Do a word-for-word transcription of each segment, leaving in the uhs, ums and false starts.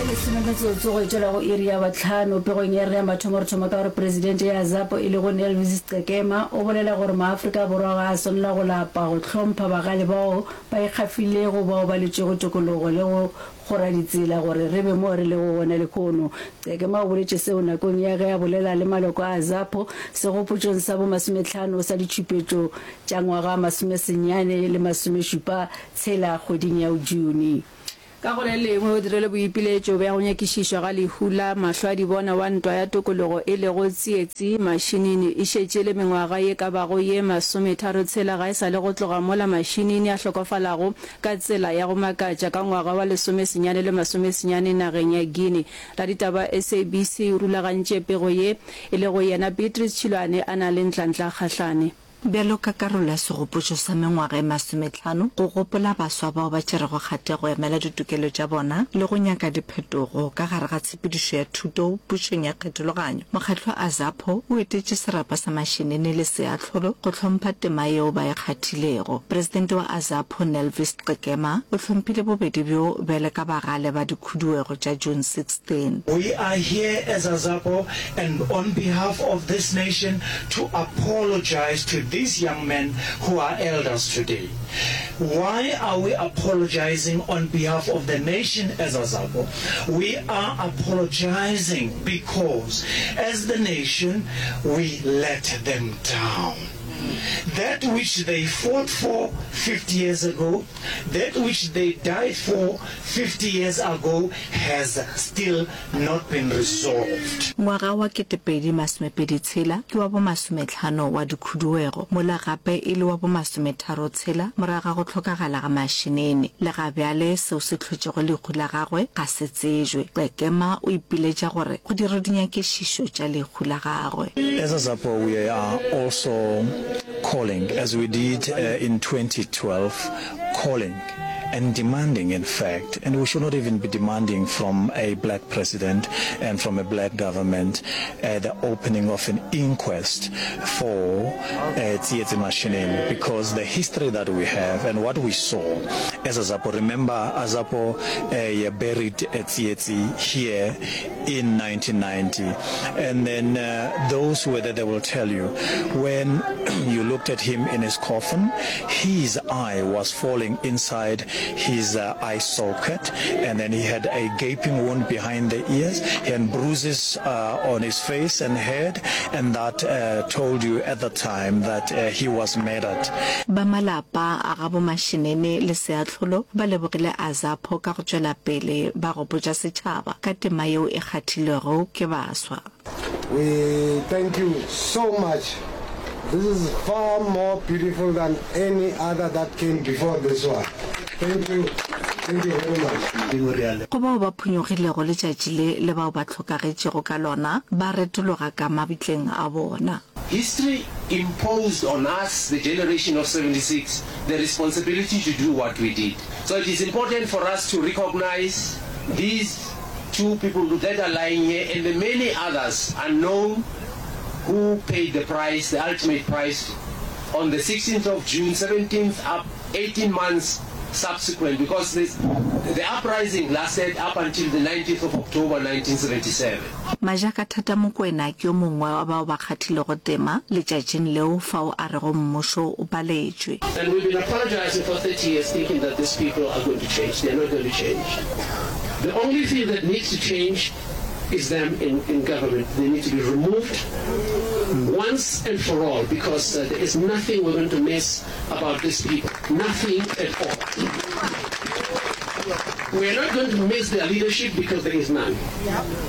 Lesome metsotso go etšwela go iri ya bohlano. Pegong ya rena ya mathomo re thoma ka gore Presidente ya AZAPO e lego Nelvis Qekema o bolela gore maAfrika Borwa ga a swanela go lapa go hlompha bagale bao ba ikgafilego bao ba lwetšego tokologo le go kgora ditsela gore re be mo re lego gona lehono. Qekema o boletše seo nakong ya ge a bolela le maloko a AZAPO segopotšong sa bomasomehlano sa ditšhupetšo tša ngwaga masomesenyane le masomešupa tshela kgweding ya June. Ka go le lengwe, o dirile boipiletšo bja go nyakišišwa ga lehu la mahlwadibona wa ntwa ya tokologo e lego Tsietsi Mashinini. E šetše e le mengwaga ye ka bago ye masometharo-tshela ga e sa le go tloga mola Mashinini a hlokofalago ka tsela ya go makatša ka ngwaga wa lesomesenyane le masomesenyane nageng ya Guinea. Raditaba wa S A B C o rulagantše pego ye, e lego yena Beatrice Tšhilwane a na le Ntlantla Kgahlane. Bjalo ka karolo ya segopotšo sa mengwaga e masomehlano go gopola baswa bao ba tšerego kgato ya go emela ditokelo tša bona le go nyaka diphetogo ka gare ga tshepedišo ya thuto pušong ya kgethologanyo, mokgatlo wa AZAPO o etetše serapa sa Mashinini le Seahlolo go hlompha tema yeo ba e kgathilego. Presidente wa AZAPO Nelvis Qekema o hlomphile bobedi bjo bjale ka bagale ba dikhuduego tša June sixteen. We are here as AZAPO and on behalf of this nation to apologize to these young men who are elders today. Why are we apologizing on behalf of the nation as AZAPO? We are apologizing because as the nation we let them down. That which they fought for fifty years ago, that which they died for fifty years ago has still not been resolved. Ngwaga wa ketepedi masomepedi tshela ke wa bomasometlhano wa dikhuduego, mola gape e le wa bomasometharo tshela morago ga go hlokagala ga Mashinini. Le ga bjale seo se hlotšego lehu la gagwe ga se tsejwe. Qekema o ipiletša gore go dirwe dinyakišišo tša lehu la gagwe. As AZAPO we are also calling, as we did in twenty twelve, calling and demanding, in fact, and we should not even be demanding from a black president and from a black government, uh, the opening of an inquest for uh, Tsietsi Mashinini, because the history that we have and what we saw as AZAPO, remember AZAPO uh, buried Tsietsi here in nineteen ninety, and then uh, those who were there, they will tell you, when you looked at him in his coffin, his eye was falling inside his, uh, eye socket, and then he had a gaping wound behind the ears, he had bruises, uh, on his face and head, and that, uh, told you at the time that, uh, he was murdered. Ba malapa a gabo Mashinini le Seahlolo ba lebogile AZAPO ka go tšwela pele ba gopotša setšhaba ka tema yeo e kgathilwego ke baswa. We thank you so much. This is far more beautiful than any other that came before this one. Thank you. Thank you very much. Go bao ba phonyokgilego letšatši le le bao ba hlokagetšego ka lona, ba retologa ka mabitleng a bona. History imposed on us, the generation of seventy-six, the responsibility to do what we did. So it is important for us to recognize these two people that are lying here and the many others unknown who paid the price, the ultimate price, on the sixteenth of June, seventeenth up, eighteen months subsequent, because this, the uprising lasted up until the nineteenth of October nineteen seventy-seven. Majaka Thata Mokoena ke yo mongwe wa bao ba kgathilego tema letšatšing leo fao a rego mmušo o paletšwe. And we've been apologizing for thirty years thinking that these people are going to change. They are not going to change. The only thing that needs to change is them in, in government. They need to be removed once and for all, because, uh, there is nothing we're going to miss about these people. Nothing at all. We are not going to miss their leadership because there is none.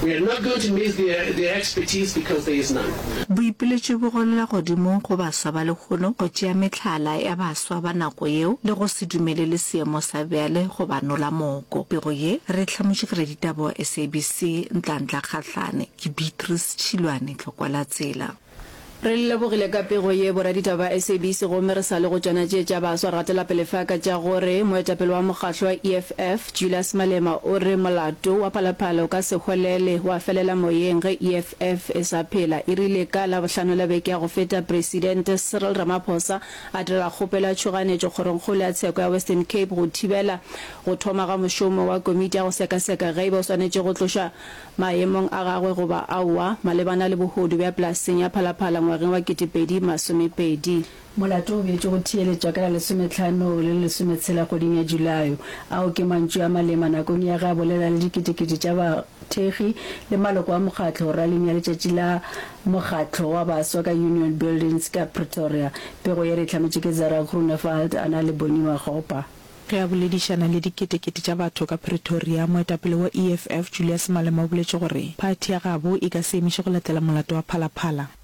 We are not going to miss their, their expertise because there is none. Boipiletšo bo golela godimo go baswa ba lehono go tšea mehlala ya baswa ba nako yeo le go se dumelele seemo sa bjale go ba nola moko. Pego ye re hlamotše ke raditaba wa S A B C Ntlantla Kgahlane, ke Beatrice Tšhilwane, Tlokwa la Tsela. Re le lebogile ka pego ye, boraditaba ba SABC, gomme re sa le go tšona tše tša baswa, re gatela pele fa ka tša gore moetapele wa mokgahlo wa EFF, Julius Malema, o re molato wa Phalaphala o ka se hwelele wa felela moyeng ge EFF e sa phela. E rile ka Labohlano la beke ya go feta, Presidente Cyril Ramaphosa a direla kgopelo ya tšhoganetšo Kgorongkgolo ya Tsheko ya Western Cape go thibela go thoma ga mošomo wa komiti ya go sekaseka ge e ba o swanetše go tlošwa maemong a gagwe goba aowa malebana le bohodu bja polaseng ya Phalaphala ngwageng wa kete pedi masome pedi. Molato o beetšwe go theeletšwa ka la lesometlhano le lesometshela kgweding ya Julae. Ao ke mantšu a Malema nakong ya ge a bolela le diketekete tša bathekgi le maloko a mokgatlo raling ya letšatši la mokgatlo wa baswa ka Union Buildings ka Pretoria. Pego ye re e hlametše ke Zara Groenewald a na le Bonnie Makgopa. Ge a boledišana le diketekete tša batho ka Pretoria, moetapele wa EFF, Julius Malema o boletše gore phathi ya gabo e ka se emiše go latela molato wa Phala Phala.